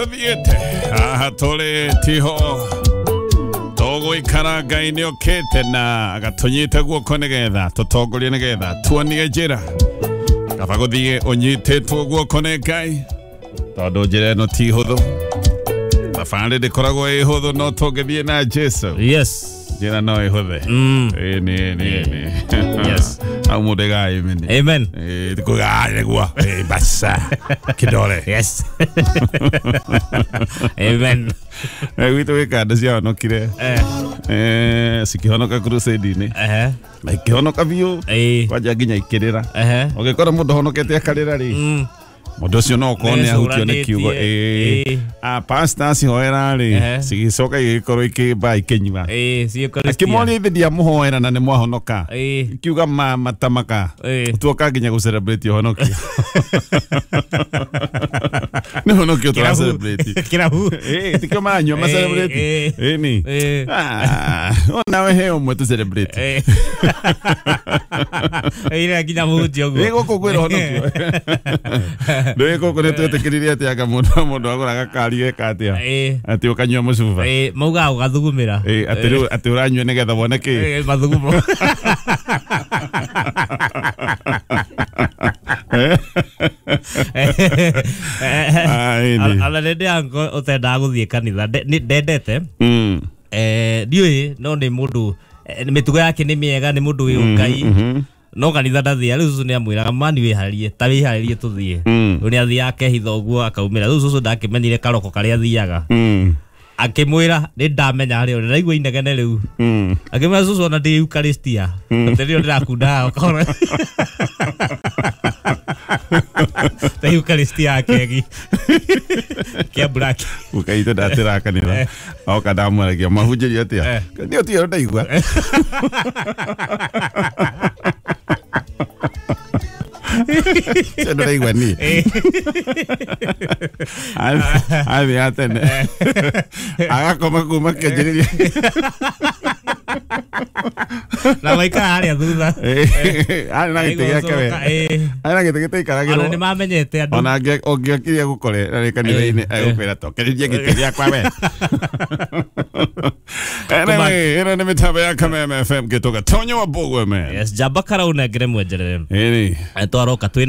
Tuthiete haha tũrĩ tiho tũgũikara. Ngai nĩ okĩte na agatũnyita guoko nĩgetha tũtongorie, nĩgetha tuonie njĩra. Kaba gũthiĩ ũnyitĩtwo guoko nĩ Ngai, tondũ njĩra ĩno ti hũthũ, thabarĩ ndĩkoragwo ĩ hũthũ, no tũngĩthiĩ na Jesu, njĩra no ĩhũthe. Ĩni ĩni ĩni. Hau mũndũ ĩgaĩmini. Amen. Nĩguo basa kidole. Yes, amen. Gwitũ gwĩ kanda ciahonokire. Cikĩhonoka crusade-inĩ na ikĩhonoka biũ, kwanja nginya ikĩrĩra. Ũngĩkora mũndũ honokete akarĩra rĩ, mũndũ ũcio no ũkorwo nĩ ahutio nĩ kiugo. Nĩecũranĩtie. A pastor acihoera rĩ, cigĩcoka igĩkorwo ikĩmba ikĩnyua. Ciĩkaristia. Akĩmoria, ithe ndiamũhoera na nĩ mwahonoka? Ikiuga ma matamaka. Tuoka nginya gũ celebrate ũhonokio, nĩ ũhonokio tũra celebrate. Kĩrabu. Tikio maranyua ma celebrate. Ĩni. Ah, onawe he ũmwe tũ celebrate. Ĩrĩa nginya mũhunjia ũguo. Ĩ gũkũ kwĩra ũhonokio ndũĩ gũkũ nĩ twĩtĩkĩrire atĩ anga mũndũ agũraga kari geka atĩa, atĩ ũkanyua mũcuba. Maugaga ũgathugumĩra. Atĩ rĩu atĩ ũranyua nĩgetha wone kĩ? Mathugumo. Ah, ĩni. Ona nĩ ndĩ ango ũtendaga gũthiĩ kanitha. Ndendete. Ndiũĩ, no nĩ mũndũ, mĩtugo yake nĩ mĩega, nĩ mũndũ wĩ ũngai, no kanitha ndathia. Rĩu cũcũ nĩ amwĩraga, mani wĩharĩrie, ta wĩharĩrie tũthiĩ. Rĩu nĩ athiaga akehitha ũguo akaumĩra. Rĩu cũcũ ndakĩmenyire karoko karĩa athiaga. Akĩmwĩra, nĩ ndamenya harĩa ũrĩ, ndaigua inegene rĩu. Akĩmwĩra, cũcũ, ona ndĩ Eucharistia atĩ rĩo ndĩrakunda haha ũkona ta Eucharistia ya kegi kĩa black. Ukaitũ ndatĩra kanitha oka ndamwaragia mahunjĩrio atĩa. Nĩ ũtigero ndaigua cio ndĩraigua niĩ. Athiĩ tene agakoma kuma kĩanjĩrĩria. Na maikara harĩa thutha. Arĩ na gĩtĩ gĩake we. Arĩ na gĩtĩ ona gĩtaikaragĩrwo. Nĩ mamenyete andũ. Ona ũngĩokirie gũkore arĩ kanitha-inĩ, egũkwĩra tokererie gĩtĩ gĩakwa we. Anyway, ĩno nĩ mĩtambo ya Kameme FM gĩtũga Tonyo wa Mbũgwe man. Yes, njamba karaunengere mwenjerere. Ĩni. Twaroka twĩna